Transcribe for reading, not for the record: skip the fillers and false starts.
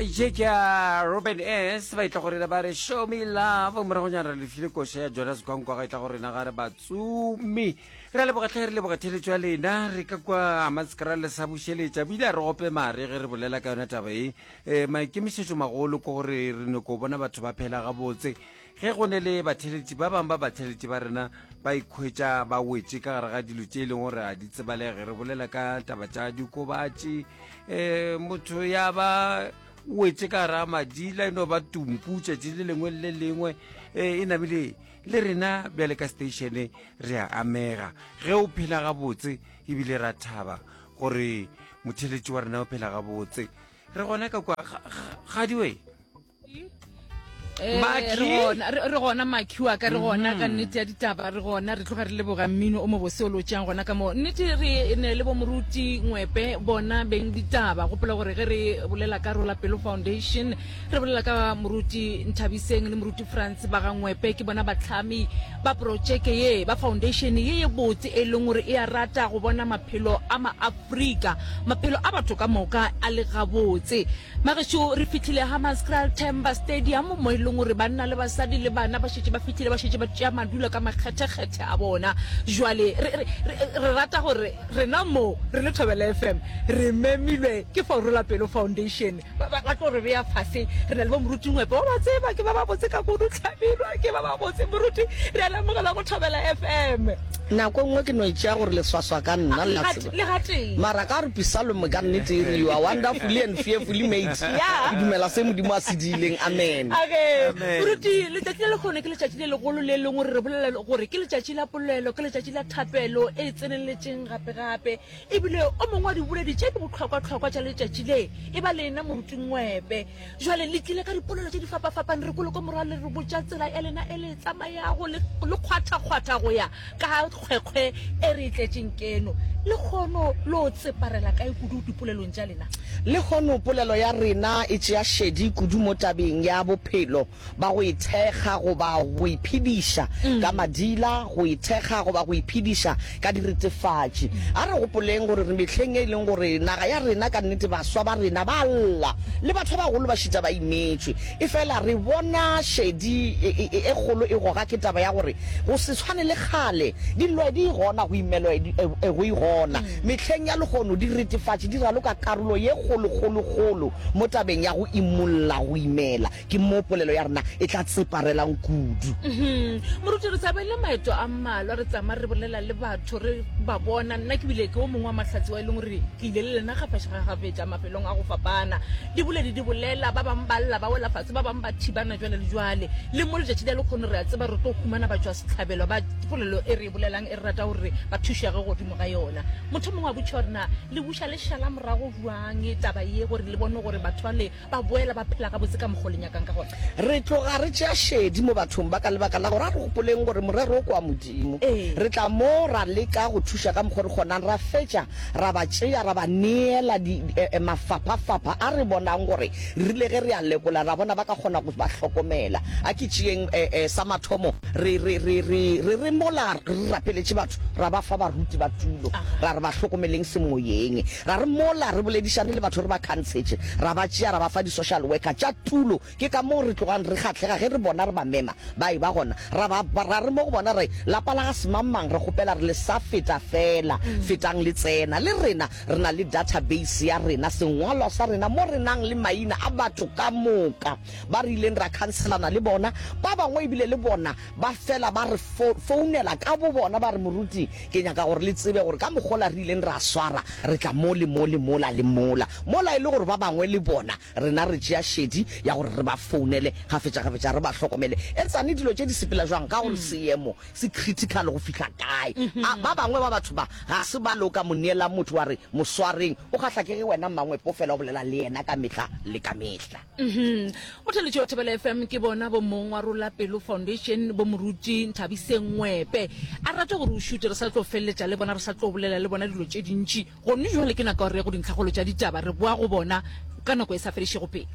Ye ke ya Robin S ba itla go rena ba re show me love moragonyana re lefile koša ya Jonas Kwankwa ga itla go rena ga re batsumi re a leboga tlhe re leboga theletšo ya lena re ka kwa Hammanskraal le sa bušeletša bile a re gope mare ge re bolela ka yona taba e um maikemišetšo magolo ke gore re nyako bona batho ba phela gabotse Ge go ne le batheeletši, ba bangwe ba batheeletši ba rena ba ikhwetša ba wetše ka gare ga dilo tše e leng gore ga di tsebalege. Re bolela ka taba tša dikobatši, um motho ya ba wetše ka gare ga madila e no ba tumpu tšatši le lengwe le le lengwe. Um e namile le rena bjale ka station re a amega ge o phela gabotse ebile ra thaba gore motheeletši wa rena o phela gabotse. Re gona ka kwa gadiwe. Eh, re gona makhi wa ka re gona ka mhm. nnete ya ditaba re gona re tloga re leboga mmino o mobose o lotšang gona ka moo nnete re ne le bo moruti ngwepe bona beng ditaba gopola gore ge re bolela ka rola pelo foundation re bolela ka moruti nthabiseng le moruti france ba ga ngwepe ke bona batlhami ba projeke ye ba foundation ye ye botse e leng gore e a rata go bona maphelo a maafrika maphelo a batho ka moka a le gabotse Magešo, re fihlile Hammanskraal Themba Stadium mo e leng gore banna le basadi le bana ba šetše ba fihlile, ba šetše ba tšea madulo ka makgethekgethe a bona. Jwale re, re, re, re rata gore rena mo re le Thobela FM re memilwe ke Forola Pelo Foundation. Ba, ba, ba tlo re bea fase. Re na le bo Moruti Ngwepe, wa ba tseba, ke ba babotse ka kudu, Hlabirwa, ke ba babotse. Moruti, re a le amogela go Thobela FM. Nako e nngwe ke no e tšea gore le swaswa ka nna, le a tseba. Le gatee. Mara ka gore Pisalome ka nnete e re, You are wonderfully and fearfully made. Yeah. Ke dumela se Modimo a se diileng. Amen. Age. Amen. Moruti, letšatši le lekgono ke letšatši le legolo le leng gore re bolela gore ke letšatši la polelo, ke letšatši la thapelo e tseneletšeng gape-gape. Ebile o mongwe wa diboledi tše di bohlokwa-hlokwa tša letšatši le e ba lena Moruti Ngwepe. Jwale le tlile ka dipolelo tše di fapafapane, re kwele ko morago le re botša tsela ya lena e le e tsamayago, le le kgwathakgwatha go ya ka kgwekgwe e re e tletšeng keno. Lehono lo tseparela kae kudu dipolelong tša lena? Lehono polelo ya rena e tšea šedi kudu mo tabeng ya bophelo ba go ithekga goba go iphediša ka madila, go ithekga goba go iphediša ka diretefatši. A re gopoleng gore re mehleng e leng gore naga ya rena ka nnete baswa ba rena ba lla, le batho ba bagolo ba šita ba imetšwe. Efela re bona šedi e kgolo e goga ke taba ya gore go se tshwane le kgale, dillo di gona, go imelwa go e gona. Mehleng ya lehono diretefatši di raloka karolo ye kgolokgolokgolo mo tabeng ya go imolla go imela. Ke mo polelo ya rena e tla tseparelang kudu. Moruti, re sa bele maeto a mmalwa re tsamaya re bolela le batho, re ba bona. Nna ke bile ke o mongwe wa mahlatse wa e leng gore ke ile le lena gafetšagafetša mafelong a go fapana. Diboledi di bolela, ba bangwe ba lla ba wela fase, ba bangwe ba thibana jwale le jwale. Le mo letšatši la lekgono re a tseba re tlo humana batšwasehlabelo ba polelo e re e bolelang e re rata gore ba thušege godimo ga yona. Motho mongwe a botšiša gore na le buša le šala morago bjang taba ye gore le bone gore batho bale Ba boela ba phela gabotse ka mokgo le nyakang ka gona. Re tloga re tšea šedi mo bathong ba ka lebaka la gore a re gopoleng gore morero o ke wa Modimo. Re tla mo ra leka go thuša ka mokgo re kgonang, ra fetša ra ba tšea ra ba neela di, mafaphafapha a re bonang gore re rile ge re a lekola ra bona ba ka kgona go ba hlokomela. A ke tšeeng sa mathomo re, re, re, re, re, re mola re rapeletše batho ra ba fa baruti ba tulo ra re ba hlokomeleng semoyeng. Ra re mola re boledišane le batho re ba khantshetše, ra ba tšea ra ba fa di-social worker tša tulo. Ke ka moo re tlogang re kgahlega ge re bona re ba mema ba eba gona. Ra ba ra re mo go bona re, Lapa la ga semangmang re kgopela re le sa feta feela, fetang le tsena. Le rena re na le database ya rena, sengwalwa sa rena mo re nang le maina a batho ka moka ba re ileng ra khanselana le bona. Ba bangwe ebile le bona ba fela ba re founela ka bobona ba re, Moruti, ke nyaka gore le tsebe gore ka mokgola re ileng ra swara, re tla mo le mo le mola le mola. Mola e le gore ba bangwe le bona rena re tšea šedi ya gore re ba founele kgafetšakgafetša re ba hlokomele. Etsane dilo tše di sepela jwang ka gore seemo se critical go fihla kae. A ba bangwe ba batho ba ga se ba loka mo neelang motho wa re mo swareng, o kgahla ke ge wena Mmangwepo fela o bolela le yena ka mehla le ka mehla. Motheletši wa Thobela FM ke bona bo mong wa Rola Pelo Foundation bo Moruti Nthabiseng Ngwepe. A re rate gore o šute re sa tlo feleletša le bona re sa tlo bolela le bona dilo tše dintši. Gomme jwale ke nako ya gore re ye go dintlhakgolo tša ditaba re boa go bona ka nako e sa fedišego pelo.